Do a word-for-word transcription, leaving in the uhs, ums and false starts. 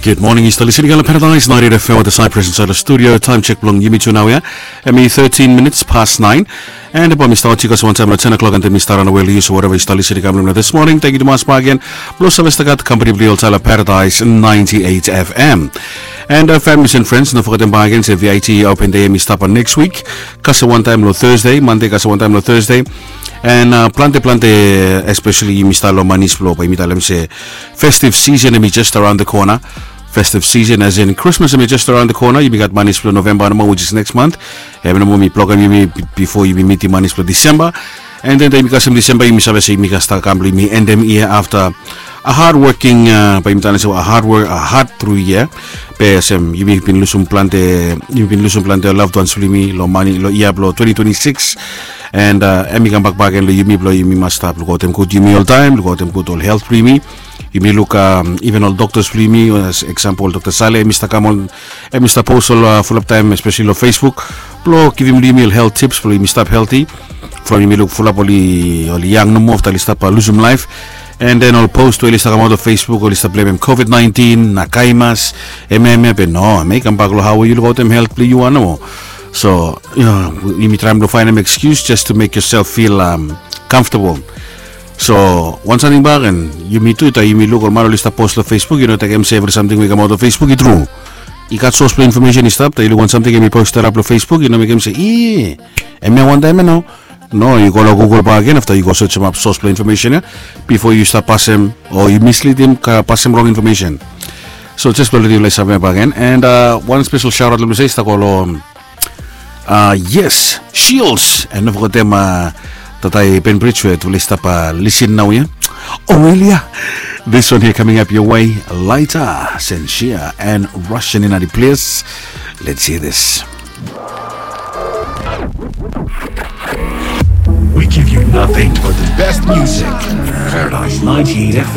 Gud moning, yu stap lisin i kam long Paradise ninety-eight F M wetem Cyprus insaed long studio. Taem sek blong yumi tu nao ya, hemi thirteen minutes past nine. And bae mi stap wotching yu kasem wantaem long ten o'clock, and then mi stap raon we long yu. So wherever yu stap lisin i kam long this morning, tangkiu tumas bakegen blong save stap gat kampani blong yu oltaem long Paradise ninety-eight F M. And uh, families and friends, no fogetem bakegen se V I T Open Day hemi stap long next week, kasem wantaem long Thursday, Monday kasem wantaem long Thursday. And uh, plante plante, especially yumi stap long manis blong, bae yumi talem se festive season hemi just around the corner. Festive season, as in Christmas, hemi just around the corner. Yumi gat manis blong November nomo, which is next month. Hemi nomo mi blogem yumi bifo yumi mitim manis blong December. And then taem yumi kasem December, yumi save se yumi gat stap kam blong yumi endem yia afta a hard working, uh, bae yumi talem se a hard work, a hard through year. Be olsem yumi bin lusum plante, yumi bin lusum plante loved ones blong yumi long manis long yia blong twenty twenty-six. And uh, hemi kambak bakegen long yumi blong yumi mas stap lukautem gud yumi oltaem, lukautem gud ol helt blong yumi. Yumi luk, um, even ol doctors blong yumi, as example Doctor Saleh, hemi stap kam ol, hemi stap post ol, uh, fulap taem, especially long Facebook, blong givim long yumi ol health tips blong yumi stap healthy. From yumi luk fulap oli, oli yang nomo afta oli stap, uh, lusum laef. And then ol post we oli stap kamaot long Facebook, oli stap blemem COVID nineteen, na kaimas, hemia hemia, be no, hemi kambak long hao we yu lukautem helt blong yu wan nomo. So, you know, yumi traem blong faenem excuse just to make yourself feel, um, comfortable. So wan samting bakegen, yumi tu taem yumi luk ol man oli stap post long Facebook, yu no tekem se evri samting we i kamaot long Facebook i tru. I gat sos blong infomesen i stap, taem yu luk wan samting hemi post stap long Facebook, yu no mekem se, i, hemia wantaem ya nao. No, yu go long Google bakegen afta yu go searchemap sos blong infomesen ya bifo yu stap pasem o yu mislidim, ka pasem rong infomesen. So just blong letem yufala i save bakegen. And uh, wan spesel shaotaot long mi se i stap go long, uh, yes, Shields. And no fogetem, uh, tata i Bainbridge we yufala i stap, uh, lisin nao ya. Oh well, yeah. This one here coming up your way later. Sensia and Russian in the place. Let's hear this. We give you nothing but the best music. Paradise ninety-eight F M.